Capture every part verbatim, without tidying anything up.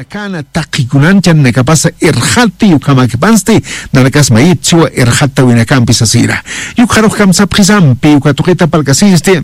Kana taqikunan chanakapasa irxati, ukhamakipansti nanakas mayit siwa irxatawinakampi sasira. Yukxarux kamsapxisampi uka tuqita palkasisti.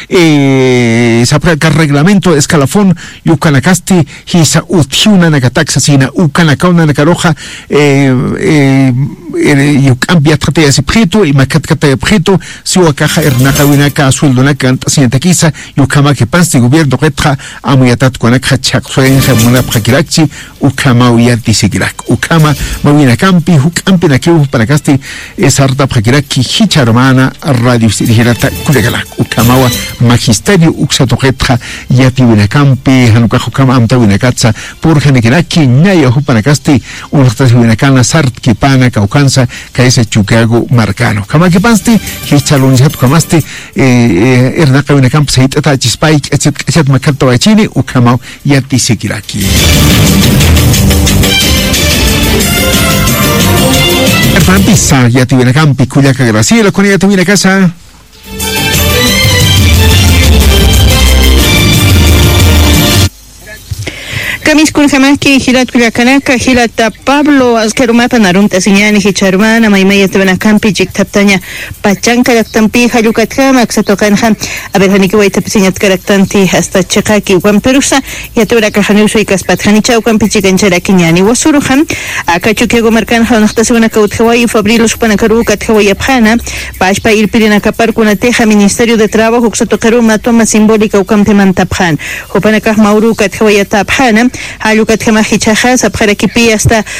Eh, sapxaka reglamento escalafón yukanakasti jisa utjiw nanakatak sasina ukanakaw nanakaruxa, eh, eh, eh, yuk'ampi yatxatayasipxitu imakhatkatayapxitu siwa kaxa irnaqawinaka sueldonaka ant'asiñatakisa. Yukhamaki pansti gobierno qetxa amuyatatkunakxa chhaqsurinxa munapxakirakchi. Ukhamaw yatisikirak ukhama mawinakampi juk'ampinakiw jupanakasti. Sartapxakirakki jichharumana radio sirjirata kullakanak ukhamawa magisterio uksatuqitxa yatiwinakampi janukax ukhama amtawinakatsa purjanikinaki ñaya jupanakasti. Unxtasiwinakana sartkipana kawkansa kaysa chukagu markana ukhamakipansti. Jichharunisat ukhamasti irnaqawinakampi sayt'atachispay k'achat k'achat makhattawachini ukhamaw yatisikiraki. Arpampisa yatiwinakampi kullaka graciela kuna yatiwinakasa. Kamiskunjamaki jilat kullakanaka jilata pablo askarumapa narumt'asiñani jicharumana maymaya yatiwinakampi chiktaptaña pachanka llaqtampi jallukatjama aksatuqanxa. Averjanikiwaytapisiñatkaraktanti asta chiqaki wampirusa yatiwirakaxaniw suykaspatjanichaw kampichikancharakiñani wasuruxa. Aka chukiagu markanxa unaqtasiwanaka utjawayi fabrilos jupanakaruw katjawayapxana. Pashpa irpirinakaparkunatixa ministerio de trabajo uksatuqiruw matuma simbólica ukampimantapxana. Jupanakax mawruw katjawayatapxana. Jallukatjamax jichhaxa sapxarakipi asta